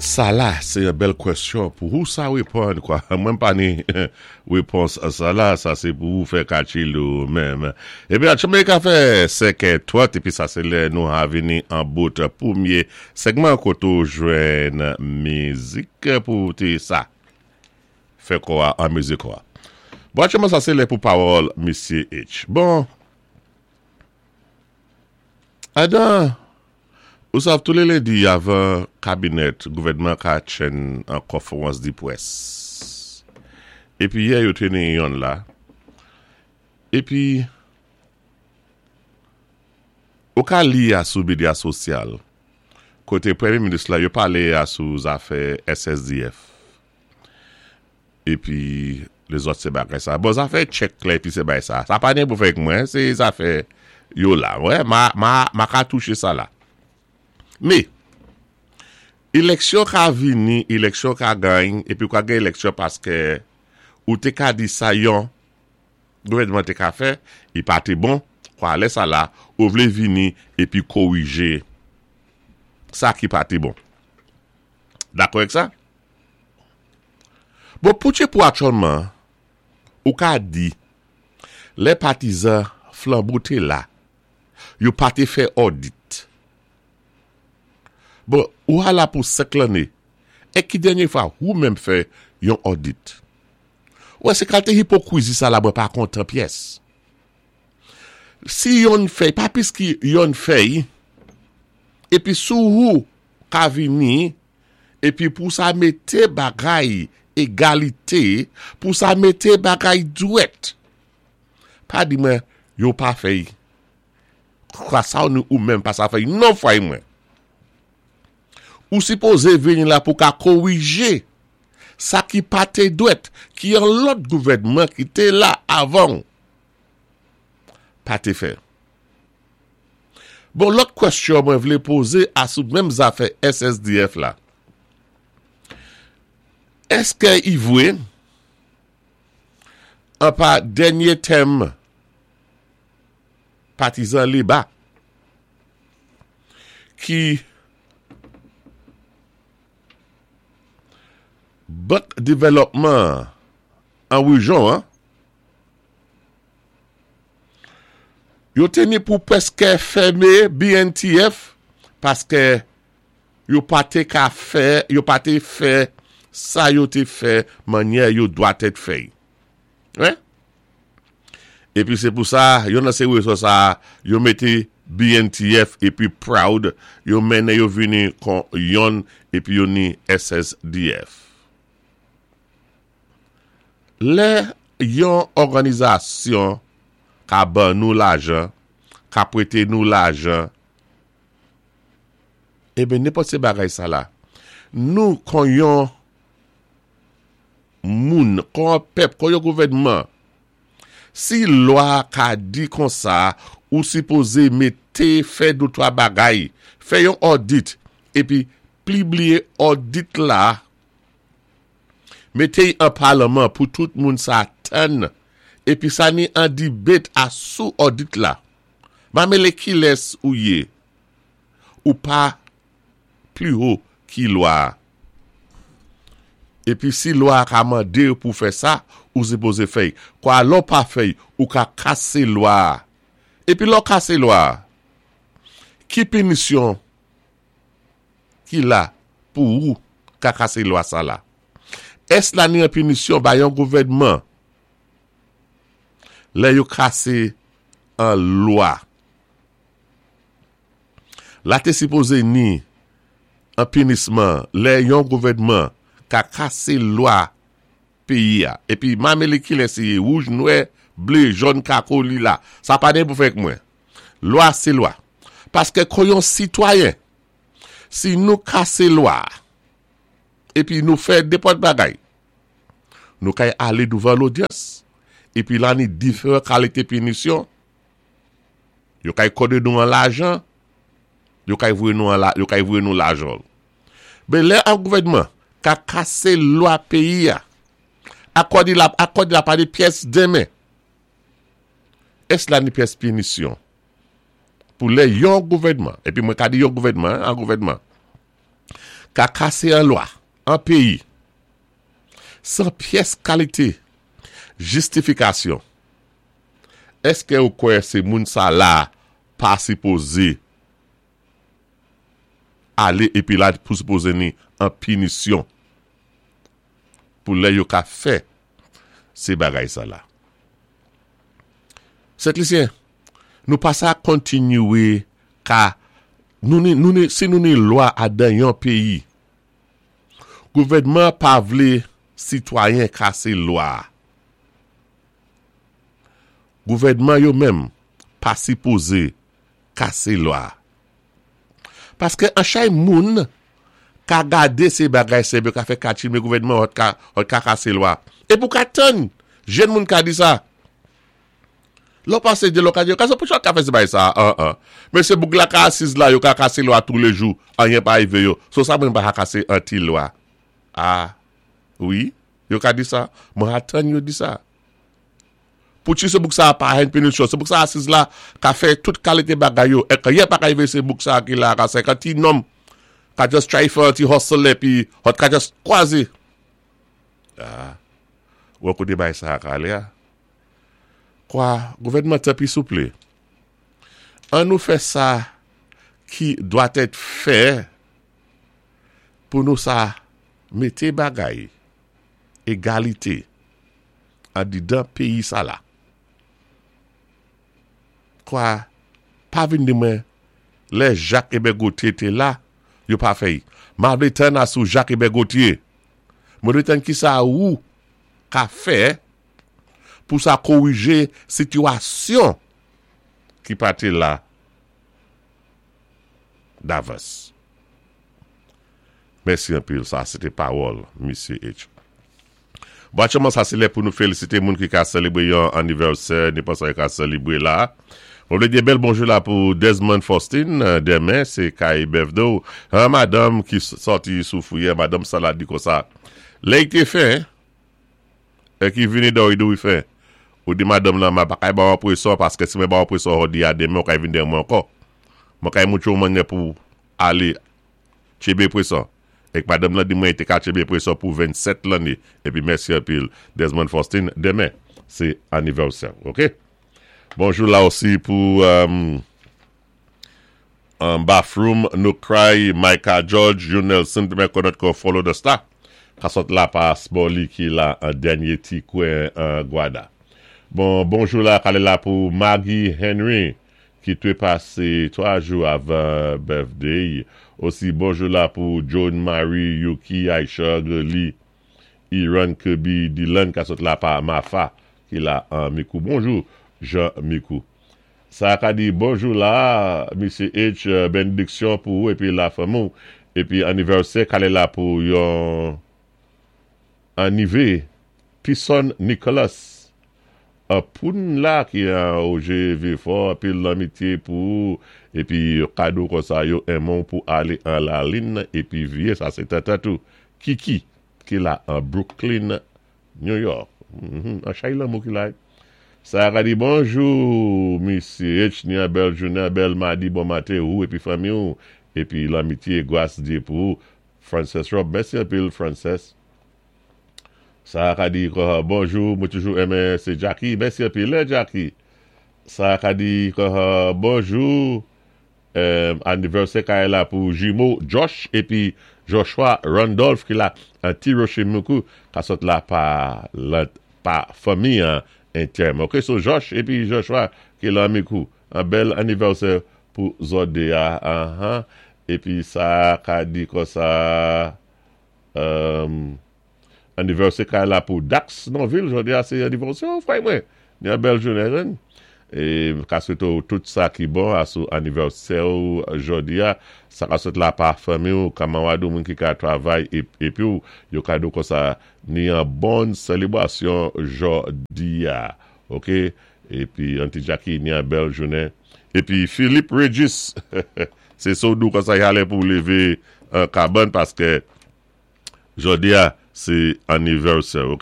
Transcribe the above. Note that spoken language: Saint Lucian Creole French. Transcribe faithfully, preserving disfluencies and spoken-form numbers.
Sa la, sé yon bèl kwèsyon pou ou sa wéponn kwa. Mwen pa ni wépons a sa la, sa sé pou ou fè kalkil ou menm. Épi aktyèlman ka fè senkè twant, épi sa sé lè nou a vini an bout pwémyé segman koté ou jwenn mizik pou té sa. Fè kwa an mizik kwa. Bon, aktyèlman sa sé lè pou pawòl Misyé H. Bon, adan, ou sav tou lé lendi avan kabinèt gouvèdman ka tjenn an konfwérans di pwès. Épi yè yo té ni yonn la. Épi ou ka li a sou medya sosyal koté pwémyé minis la yo palé a sou zafè S S D F. Épi lézòt sé bagay sa. Bon, zafè tchèk la épi sé bagay sa. Sa pa ni pou fè mwen, sé zafè yo la. Wè, ma, ma, ma ka touché sa la. Mé, éleksyon ka vini, éleksyon ka gagn, épi ou ka gen éleksyon paské ou té ka di sa yon gouvèdman té ka fè, i pa té bon, kwa lè sa la, ou vlé vini épi kowijé sa ki pa té bon. Dakò avèk sa? Bon, pou pou aktyèlman, ou ka di, lè patizan Flambeau té la, yo pa té fè audit. Bon, ou a la pou senk lanné, é ki dènyé fwa ou menm fè yon audit? Wè, sé kalité ipokwizi sa la mwen pa kontan pyès. Si yon fèy, pa pis ki yon fèy, épi sou ou ka vini, épi pou sa mété bagay égalité, pou sa mété bagay dwèt. Pa di mwen, yo pa fèy. Kwa sa ou nou ou menm pa sa fèy, non fway mwen. Ou sipozé vini la pou ka kowijé sa ki pa té dwèt, ki yon lòt gouvèdman ki té la avan pa té fè. Bon, lòt kwèsyon mwen vlé pozé a sou menm zafè S S D F la. Èské i vwé an pa dènyé tèm patizan Léba ki Bank Développement an wéjyon an, yo té ni pou pwèské fèmé B N T F paské yo pa té ka fè, yo pa té fè sa yo té fè mannyè yo dwatèt fè. Wè? Épi sé pou sa, yo nan sé wézon sa, yo mété B N T F épi Proud, yo mennen yo vini kon yon épi yo ni S S D F. Lè yon òganizasyon ka ban nou lajan, ka pwété nou lajan, eben nenpòt sé bagay sa la. Nou kon yon moun, kon pèp, kon yon gouvèdman, si lwa ka di kon sa, ou sipozé mété fè de twa bagay, fè yon audit, épi pibliyé audit la, mété an palman pou tout moun sa tann, épi sa ni an debate a sou audit la. Ma mélé ki lès ou yé, ou pa pli wo ki lwa. Épi si lwa ka mandé pou fè sa, ou sipozé fè. Kwa lò pa fè, ou ka kasé lwa. Épi lò kasé lwa, ki pinisyon ki la pou ou ka kasé lwa sa la? Ès la ni an pinisyon ba yon gouvèdman lè yo kasé an lwa? La té sipozé ni an pinisman lè yon gouvèdman ka kasé lwa péyi a. Épi ma mélé ki lè sé wouj, nwè, blé, jòn, kako, lila. Sa pa ni pou fè mwen. Lwa sé lwa. Paské kon yon sitwayen, si nou kasé lwa, épi nou fè nenpòt bagay, nou kay alé douvan lodyans, épi la ni diferan kalité pinisyon, yo kay kòdé nou an lajan, yo kay voyé nou an la, yo kay voyé nou lajan. Ben lè an gouvèdman ka kasé lwa péyi a, akòdi la, akòdi la pa de pyès denmen, ès la ni pyès pinisyon pou lè yon gouvèdman, épi mwen ka di yon gouvèdman, an gouvèdman, Ka kasé an lwa, an péyi, san pyès kalité jistifikasyon, èské ou kwè sé moun sa la pa sipozé alé épi la pou sipozé ni an pinisyon pou lè yo ka fè sé bagay sa la? Sent Lisyen, nou pa sa kontinyé ka nou ni, nou ni, si nou ni lwa adan yon péyi, gouvèdman pa vlé sitwayen kasé lwa. Gouvèdman yo menm pa sipozé kasé lwa. Paské an chay moun ka gadé sé bagay sé ka fè kati mé gouvèdman ot ka, ot ka kasé lwa. É pou ka tann, jenn moun ka di sa. Lò pasé de lò ka di, ka sa pou chak ka fè sé bagay sa, an, an. Men sé bouk la ka asiz la, yo ka kasé lwa tou lé jou, anyen pa arivé yo. So sa mwen pa ka kasé an ti lwa. Ah, wi, yo ka di sa. Mwen atan yo di sa. Pou ti sé bouk sa pa hen pinisyon, sé bouk sa asiz la, ka fè tout kalité bagay yo, é anyen pa ka arivé sé bouk sa ki la, ka se ka ti nonm, ka just try fè ti hustle épi, hot ka just kwazé. Ah, wè koté bay sa ka alé a? Kwa, gouvèdman tanpi souplé, an nou fè sa ki dwa èt fè pou nou sa mété bagay égalité andidan péyi sa la. Kwa, pa vin di mwen, lè Jacques Hébert Gauthier té la, yo pa fè. Ma vlé tann asou Jacques Hébert Gauthier. Mwen vlé tann ki sa ou ka fè pou sa korijé sitiyasyon ki pa té la davans. Mèsi anpil, sa sé té pawòl, Misye H. Bon, aktyèlman sa sé lè pou nou félisité moun ki ka sélébré yon anivèsè, ni pa sa ka sélébré la. Mwen vlé di bèl bonjou la pou Desmond Faustin, denmen, sé kay birthday. An madanm ki sòti sou fouyè, madanm sa la di kon sa. Lè i té fè, é ki vini do i do i fè. Ou di madanm nan, ma pa kay ba an pweson, paské si mwen ba an pweson, ou di a denmen, ou kay vin dèyè mwen ankò. Mwen kay moutou mwen pou alé tchébé pweson. Ek madanm lan di mwen té ka tchébé pweson pou vennsèt lanné. Épi mèsi anpil Desmond Faustin, denmen, sé anivèsè, ok? Bonjou la osi pou um, um, Bathroom, No Cry, Micah George, Yon Nelson, pou mwen konèt kon Follow the Star. Ka sot la pa Smolly ki la an dènyé ti kwen an Guada. Bon, bonjou la, kale la pou Maggie Henry, ki té pasé twa jou avan birthday. Osi bonjou la pou John Marie, Yuki, Aisha, Lee, Iran Kirby, Dylan, ka sot la pa Mafa, ki la an Mikou. Bonjou, Jean Mikou. Sa ka di bonjou la, Misye H, benediksyon pou ou, épi la fanmi ou, épi anivèsè, kale la pou yon anivé, Pison Nicholas, poun la ki an O G Vieux-Fort, épi lanmitié pou ou, épi kado kon sa yo enmon pou alé an lalin, épi vyé, sa sé tata tou, Kiki, ki la an Brooklyn, New York. An chay lanmou ki la. Sa ka di bonjou, Misye H, ni an bèl jounen, bèl madi, bon maten ou, épi fanmi ou, épi lanmitié, gwas Dye pou ou, Frances Rob, mèsi anpil, Frances. Sa ka di, bonjou, mwen toujou enmen, sé Jackie, mèsi anpil, lè Jackie. Sa ka di, bonjou, anivèsè ka la pou jimo Josh, épi Joshua Randolph ki la, an ti Roche Moukou, ka sot la pa, pa fanmi an entèm. Ok, so Josh épi Joshua ki la Mikou, an bèl anivèsè pou zòt a, uh-huh. Épi sa ka di kon sa, um, anivèsè ka la pou Dax Norville, jodi a sé anivèsè, oh, fray mwen, ni an bèl jounen jen. É ka swété ou tout sa ki bon asou anivèsè ou jodi a, sa ka sot la pa fanmi ou, kamanwad ou moun ki ka travay épi ou, yo ka do kon sa ni an bon selebrasyon jodi a. Ok, épi Auntie Jackie ni an bèl jounen. Épi Philippe Regis, sé sou dou kon sa yale pou lévé an kaban paské jodi a sé anivèsè, ok?